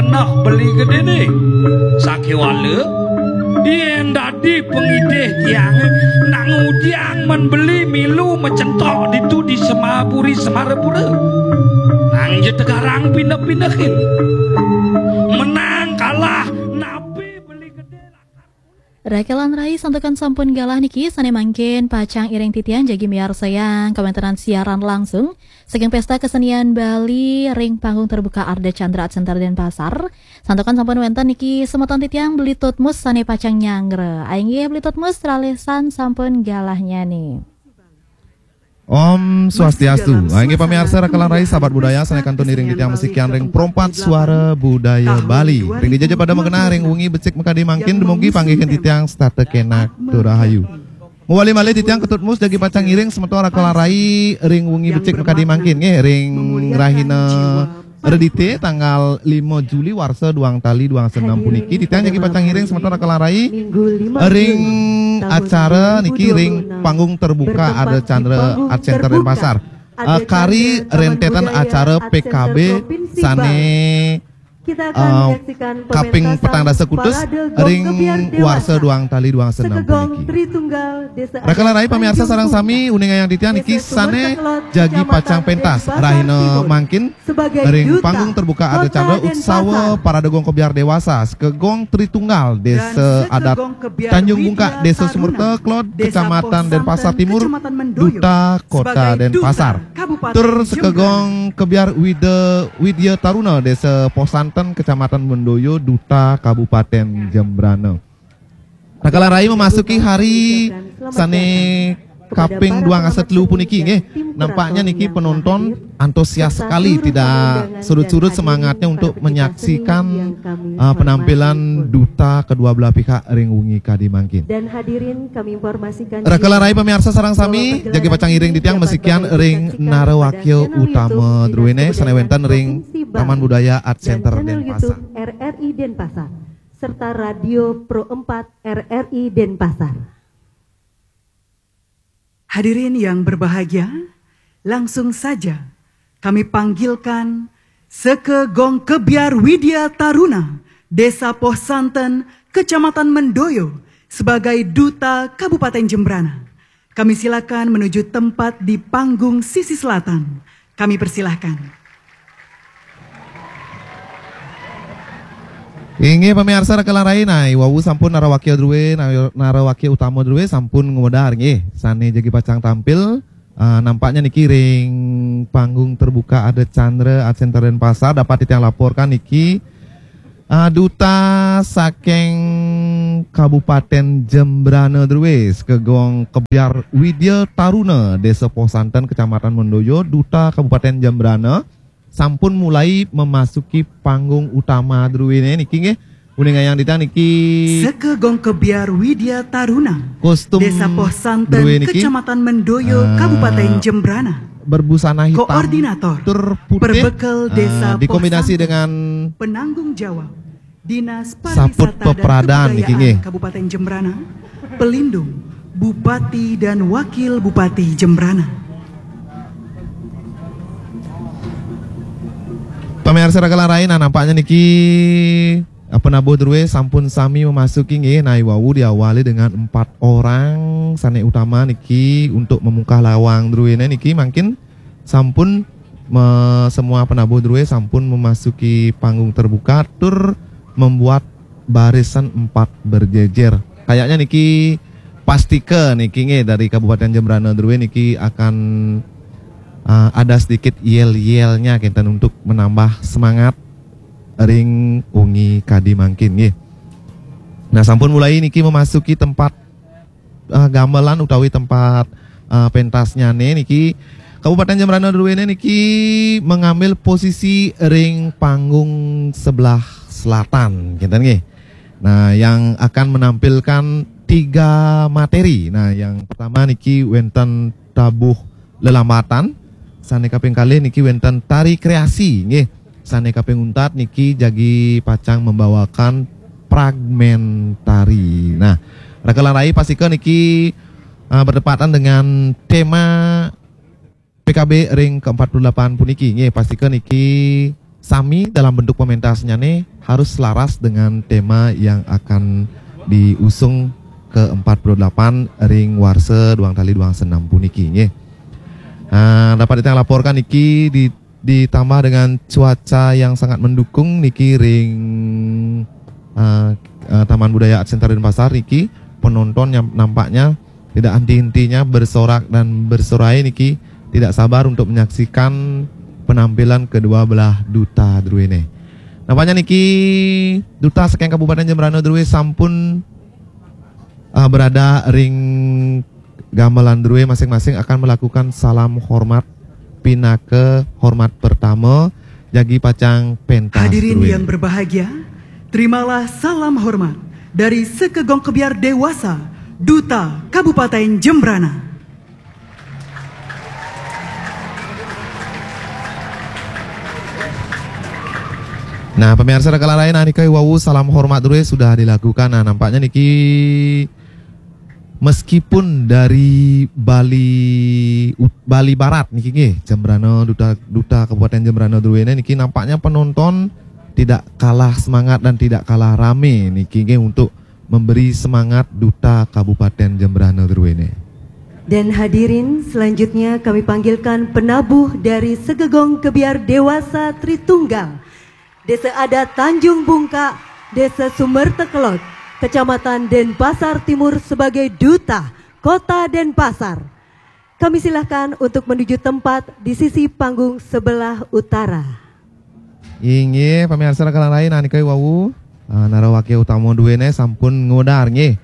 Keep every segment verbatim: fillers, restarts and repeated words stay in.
Nah, beli gedéné. Sakéwala yén dadi pangidih tiangé, nak ngudiang men beli milu macentok ditu di Semapuri Semarapura. Nang ja tegarang pineh-pinehin. Menang kalah napi beli gedé. Rakelan rai, santukan sampun galah niki, sané mangkin pacang iring titiang jagi miarsayang kawéntenan siaran langsung saking Pesta Kesenian Bali ring panggung terbuka Ardha Candra Art Center Denpasar. Santukan sampun wénten niki semeton titiang Beli Tutmus sané pacang nyanggra. Inggih Beli Tutmus, ralisan sampun galah nyanyi. Om Swastiastu. Ah, inggih pamiarsa Rakelan Rai, sahabat budaya, sané kantun iring titiang masikian ring Perempat Suara Budaya Bali. Ring dija ja pada magenah ring wengi becik makadi mangkin, dumugi panggihin titiang setata kenak tur rahayu. Mawali malih titiang Ketut Mus jagi pacang ngiring semeton Rakelan Rai ring wengi becik makadi mangkin, nggih, ring rahina Redité tanggal lima Juli warsa duang tali duang dasa enam puniki, titiang jagi pacang ngiring semeton Rakelan Rai ring acara niki ring panggung terbuka Ardha Candra Art Center Denpasar. Eh, kari rentetan acara P K B sané, eh, kaping petang dasa kutus ring warsa duang tali duang dasa enam puniki. Rakelan Rai, pamiarsa sareng sami, uningayang titiang niki sané jagi pacang pentas rahina mangkin ring panggung terbuka Ardha Candra Utsawa Parade Gong Kebyar Dewasa, Sekegong Tritunggal, Désa Adat Tanjung Bungkak, Désa Sumerta Kelod, Kecamatan Denpasar Timur, Duta Kota Denpasar. Tur Sekegong Kebyar Wida, Widya Taruna, Désa Poh Santen, Kecamatan Mendoyo, Duta Kabupaten Jembrana. Rakelan Rai memasuki hari sané kaping duang dasa telu puniki, nggih. Nampaknya niki penonton antusias sekali, tidak surut-surut semangatnya untuk menyaksikan, eh, penampilan duta kedua belah pihak ring wengi kadi mangkin. Dan hadirin kami informasikan, Rakelan Rai, pamiarsa sareng sami, jagi pacang iring titiang masikian ring narawakya utama druéné sané wénten ring Taman Budaya Art Center Denpasar. R R I Denpasar serta Radio Pro empat R R I Denpasar. Hadirin yang berbahagia, langsung saja kami panggilkan Sekegong Kebyar Widya Taruna, Désa Poh Santen, Kecamatan Mendoyo, sebagai Duta Kabupaten Jembrana. Kami silakan menuju tempat di panggung sisi selatan. Kami persilahkan. Inggih pamiarsa Rakelan Rai, nah, iwau sampun narawakya drué, nah, narawakya utama drué sampun ngwedar, nggih. Sané jagi pacang tampil, ah, nampaknya niki ring panggung terbuka Ardha Candra Art Center Denpasar, dapat titiang laporkan niki, ah, duta saking Kabupaten Jembrana drué, Sekegong Kebyar Widya Taruna, Désa Poh Santen, Kecamatan Mendoyo, Duta Kabupaten Jembrana, sampun mulai memasuki panggung utama druéné niki, nggih. Uningayang titiang niki Sekegong Kebyar Widya Taruna, kostum Désa Poh Santen, drué niki, Kecamatan Mendoyo, eh, Kabupaten Jembrana. Berbusana hitam, koordinator, tur putih, perbekel, eh, Désa Poh Santen, dikombinasi dengan penanggung jawab Dinas Pariwisata dan Kebudayaan Kabupaten Jembrana, pelindung Bupati dan Wakil Bupati Jembrana. Pamiarsa Rakelan Rai, nah, nampaknya niki, eh, penabuh drué sampun sami memasuki, nggih. Nah, iwau diawali dengan empat orang sané utama niki untuk memungkah lawang druéné niki, mangkin sampun me-, semua penabuh drué sampun memasuki panggung terbuka tur membuat barisan empat berjejer. Kayaknya niki pastika niki, nggih, dari Kabupaten Jembrana drué niki akan, eh, ada sedikit yel-yelnya kinten untuk menambah semangat ring wengi kadi mangkin, nggih. Nah, sampun mulai niki memasuki tempat, eh, gamelan utawi tempat, eh, pentasnyané niki. Kabupaten Jembrana druéné niki mengambil posisi ring panggung sebelah selatan, kinten, nggih. Nah, yang akan menampilkan tiga materi. Nah, yang pertama niki wénten tabuh lelambatan, sané kaping kalih niki wénten tari kreasi, nggih. Sané kaping untat niki jagi pacang membawakan fragmen tari. Nah, Rakelan Rai, pastika niki, eh, bertepatan dengan tema P K B ring ke empat puluh delapan puniki, nggih, pastika niki sami dalam bentuk pementasnya nih harus selaras dengan tema yang akan diusung ke empat puluh delapan ring warsa duang tali duang senam puniki nggih. Nah, dapat kita laporkan niki di, ditambah dengan cuaca yang sangat mendukung niki ring uh, uh, Taman Budaya Art Center Denpasar niki penonton yang nampaknya tidak henti-hentinya bersorak dan bersorai niki tidak sabar untuk menyaksikan penampilan kedua belah duta druene. Nampaknya niki duta saking Kabupaten Jembrana drue sampun uh, berada ring gamelan drue masing-masing akan melakukan salam hormat pinaka hormat pertama jagi pacang pentas. Hadirin drue. Yang berbahagia, terimalah salam hormat dari Sekegong Kebiar Dewasa, Duta Kabupaten Jembrana. Nah, pemirsa raka lain, anika wawu salam hormat drue sudah dilakukan. Nah, nampaknya niki meskipun dari Bali Bali Barat niki nggih, Jembrana, duta duta Kabupaten Jembrana druene niki nampaknya penonton tidak kalah semangat dan tidak kalah rame niki nggih untuk memberi semangat duta Kabupaten Jembrana druene. Dan hadirin, selanjutnya kami panggilkan penabuh dari Segegong Kebiar Dewasa Tritunggal, Desa Adat Tanjung Bungka, Desa Sumertekelot, Kecamatan Denpasar Timur sebagai duta Kota Denpasar. Kami silahkan untuk menuju tempat di sisi panggung sebelah utara. Inggih, pemirsa raka lain, anika wawu uh, narawake utama duene sampun ngodar nggih.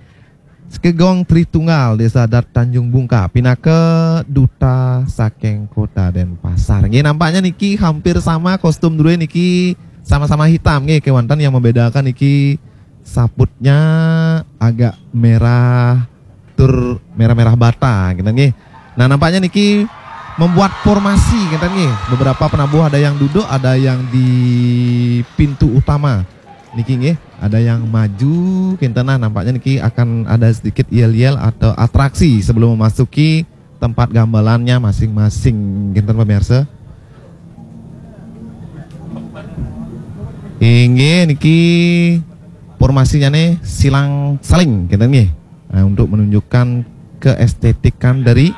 Sekegong Tritunggal Desa Adat Tanjung Bungka pinaka duta saking Kota Denpasar. Nggih, nampaknya niki hampir sama kostum drue niki sama-sama hitam nggih, kewanten yang membedakan niki saputnya agak merah tur merah-merah bata gitu nggih. Nah, nampaknya niki membuat formasi gitu nggih. Beberapa penabuh ada yang duduk, ada yang di pintu utama. Niki nggih, ada yang maju kinten. Nah, nampaknya niki akan ada sedikit yel-yel atau atraksi sebelum memasuki tempat gamelannya masing-masing kinten pemirsa. Inggih niki formasinya nih silang saling kinten nggih. Nah, untuk menunjukkan keestetikan dari